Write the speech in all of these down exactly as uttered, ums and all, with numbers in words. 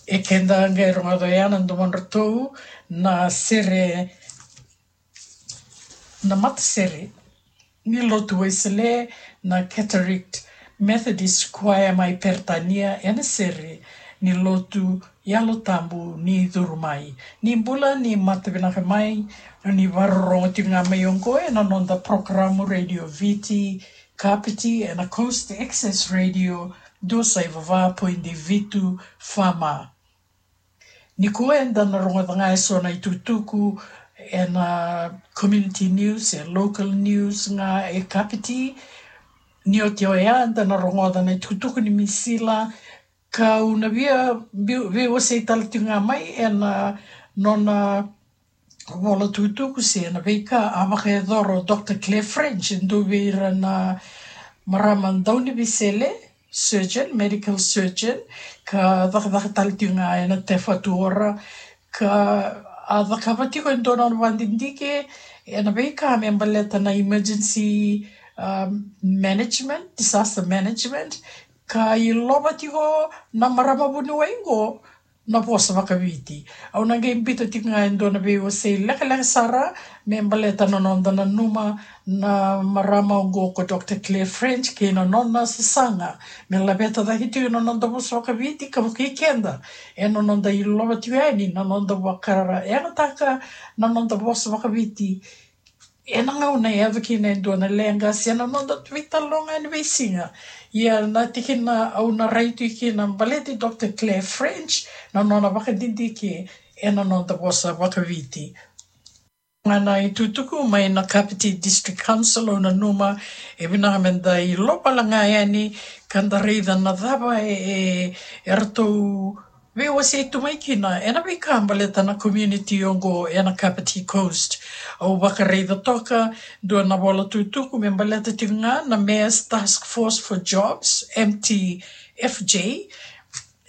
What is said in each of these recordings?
E keda qai rogoca oya na domodratou na sere, na matasere ni lotu Wesele na Cataract Methodist Choir mai Peritania ena sere ni lotu Yalo Tabu ni curu mai. Ni bula, ni mata vinaka mai, ni vakarorogo tiko ga mai oqo ena noda porokaramu Radio Viti Kapiti ena Coast Access Radio dua saiva va poidi vitu FM. Nikua eda na rogoca ga eso na itukutuku ena community news, e local news ga e Kapiti. Ni oti oya eda na rogoca na itukutuku ni misila, kau na via veiwasei tale tiko ga mai ena nona vola tukutuku se na veika a vakayacora o Dr Claire French, e dua vei ira na marama dauniveisele, surgeon, medical surgeon, ka cakacaka tale tiko ga ena Te Whatu Ora, ka a cakava tiko e dua na nona vakadidike ena veika me baleta na emergency, um, management, disaster management, ka ilova tiko na marama vuniwai qo na vosa vakaviti. Au na qai biuta tiko ga e dua na veiwasei lekaleka sara me baleta na noda nanuma na marama oqo ko Dr Claire French kei na nona sasaga me laveta cake tiko na noda vosa vakaviti ka vukei keda ena noda ilova tiko yani na noda vakarayagataka na noda vosa vakaviti ena gauna e yaco kina e dua na leqa se na noda veitalanoa ni veisiga. Ia na tikina au na rai tu kina baleti Dr Claire French na nona vakadidike ena noda vosa vakaviti. Ga na itukutuku mai na Kapiti District Council, au nanuma e vinaka meda ilova ga yani ka da raica na cava e, e, eratou veiwasei tu mai kina ena veika baleta na community oqo ena Kapiti Coast. Au vakaraica toka dua na vola tukutuku me baleta tiko ga na Mayor's Task Force for Jobs, M T F J,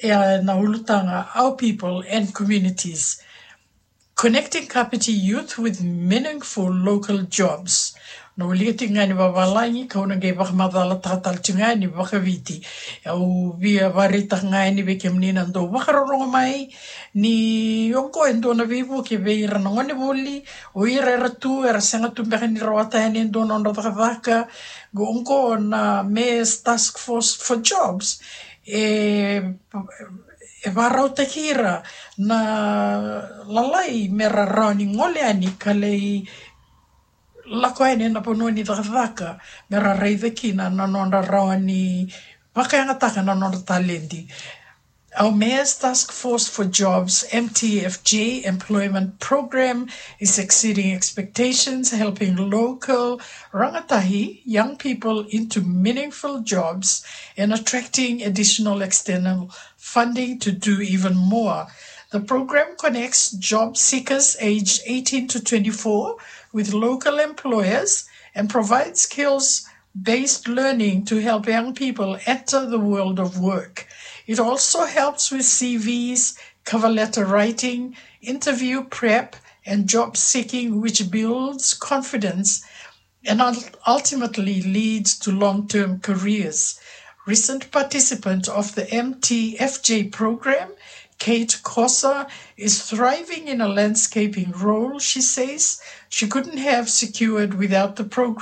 ena ulutaga Our People and Communities. Connecting Kapiti youth with meaningful local jobs. Na wilika tiko ga ni vavalagi, kau na qai vakamacalataka tale tiko ga ni vakaviti. Au via vakaraitaka ga yani vei kemuni na dau vakarorogo mai ni oqo e dua na veivuke vei ira na gonevuli, o ira era tu, era sega tu beka ni rawata yani e dua na nodra cakacaka. Oqo na Mayor's Task Force for Jobs e e vakarautaki ira na lalai me ra rawa ni gole yani ka lai lako yani ena vanua ni cakacaka me ra raica kina na nodra rawa ni vakayagataka na nodra taledi. Our Mayor's Task Force for Jobs, M T F J, employment program is exceeding expectations, helping local rangatahi young people into meaningful jobs and attracting additional external funding to do even more. The program connects job seekers aged eighteen to twenty-four with local employers and provides skills-based learning to help young people enter the world of work. It also helps with C Vs, cover letter writing, interview prep, and job seeking, which builds confidence and ul-, ultimately leads to long-term careers. Recent participant of the M T F J program, Kate Kosa, is thriving in a landscaping role she says she couldn't have secured without the program.